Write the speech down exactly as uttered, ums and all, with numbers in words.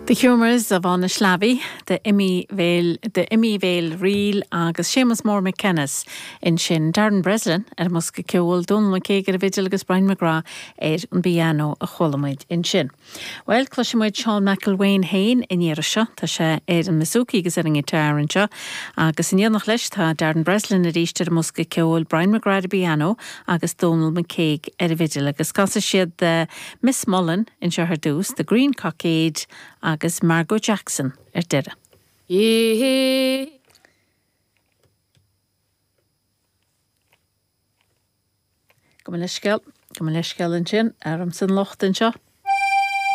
The Humours of Ynyslavy, the Emyvale the Emyvale Reel agus Séamus Mór McKennis ansin Darren Breslin ar an mbosca ceoil Donal McCague ar an bhfidil agus Brian McGrath ar an bpianó a chuala muid ansin. Well cloisfidh muid Seán McElwain féin i ndiaidh seo tá sé ar an mbouzouki agus ar an ngiotár anseo agus in éineacht leis tá Darren Breslin arís ar an mbosca ceoil Brian McGrath ar pianó agus Donal McCague ar an bhfidil agus casfaidh siad uh, Miss Mullen anseo ar dtús, The Green Cockade agus Margot Jackson ar deireadh. Yeah. Go leithscéal go leithscéal ansin ar an san locht anseo.